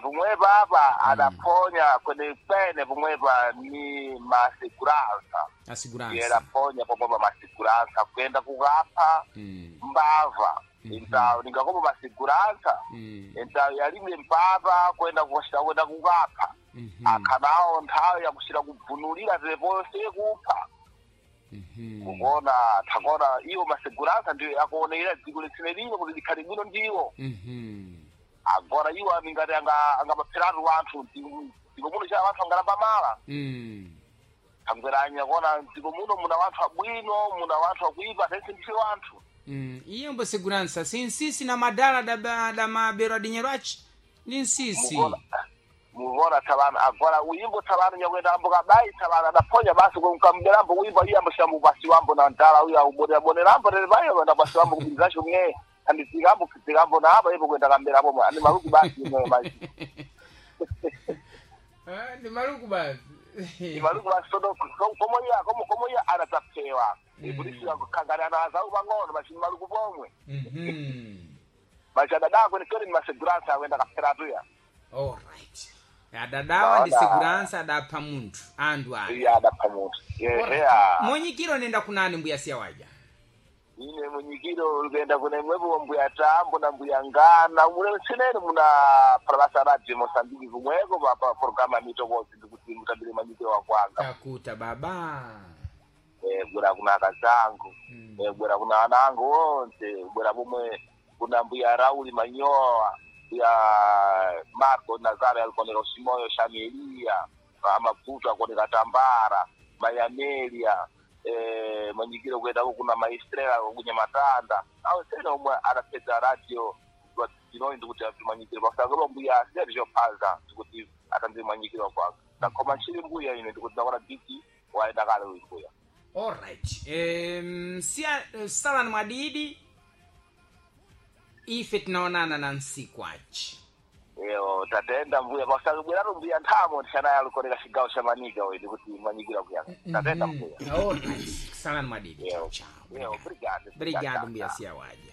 Pomwepa apa adaponya kwenekwene pomwepa ni maseguransa. Asiguransa. Yeraponya pomwepa maseguransa kuyenda kukapha mbava. Então ningakopo maseguransa. Então yalime mpapa kwenda kushita kwenda kukapha. Akhanawo nthawi yakushita kubvunulira teponse kupha. Kuona takona iwo maseguransa ndiyo yakuonera dziko litsine lino kuti likhale bwino ndiwo. Agora iwo amingati angapapheratu wanthu dziko muno cha wanthu angalamba mala. Tangweranya kuona dziko muno muna wanthu abwino, muna wanthu akuipa, tense ndife wanthu. Iye mbo seguransa si nsisi na madala da mabero adinyero achi ndi nsisi. Muvona tsavana agora uyimbo tsavana nyakuenda ambo kabayi tsavana adaphonya basi kamberambo kuimba iye amboshambo pasi wambo na ndala uyo aubonerambo tere payo enda pasi wambo kupinzacho mwe andidzikambo kudzikambo na apa ipo kuenda kamberapo mwe ani maluku basi mwe basi. Ndi maluku basi. Ni maluku basi todo komo iya komo iya anadzaphewa polisi kangani ana azau pang'ono basi ni maluku pomwe. Basi adadako ni kweni ni maseguransa akuenda kapheratuya. Alright, adadawa ndi seguransa adapha munthu anthu aya. Iye adapha munthu yeheya. Monyikiro nenda kunani mbuya siya waja? Ine munyikiro likuenda kuna imwepo mbuya Tambo na mbuya Ngana mule tsenene muna phalabasa radio Mosambiki kumweko pa programa ya mitokozi ndikuti mutambire manyikiro wakwanga. Takuta baba. Bwera kuna akazangu, bwera kuna ana angu onse, bwera pomwe kuna mbuya Rauli Manyowa, mbuya Marco Nazare alikoneka Simoyo Shamelia Amaputo akoneka Tambara Mayamelia, manyikiro kuendako kuna Maestrela kunyamatanda awo sene omwe adapedza radio inoyi ndikuti manyikiro pakusakolo mbuya siyati chophaza ndikuti atandire manyikiro kwanga ndakhoma ntchili mbuya ine ndikuti ndakona biki waenda kale uyu mbuya. Alright, siya salani mwadidi ife tinaonana na nsiku achi. Eyo tatenda mbuya pakusakubweratu mbuya nthamo tishanaye alikoneka cigawo cha Manika uyu ndikuti manyikiro kuyanga tatenda mbuya. Alright, salani mwadidi. Chao chao. Eyo, obrigado. Obrigado mbuya siya waja.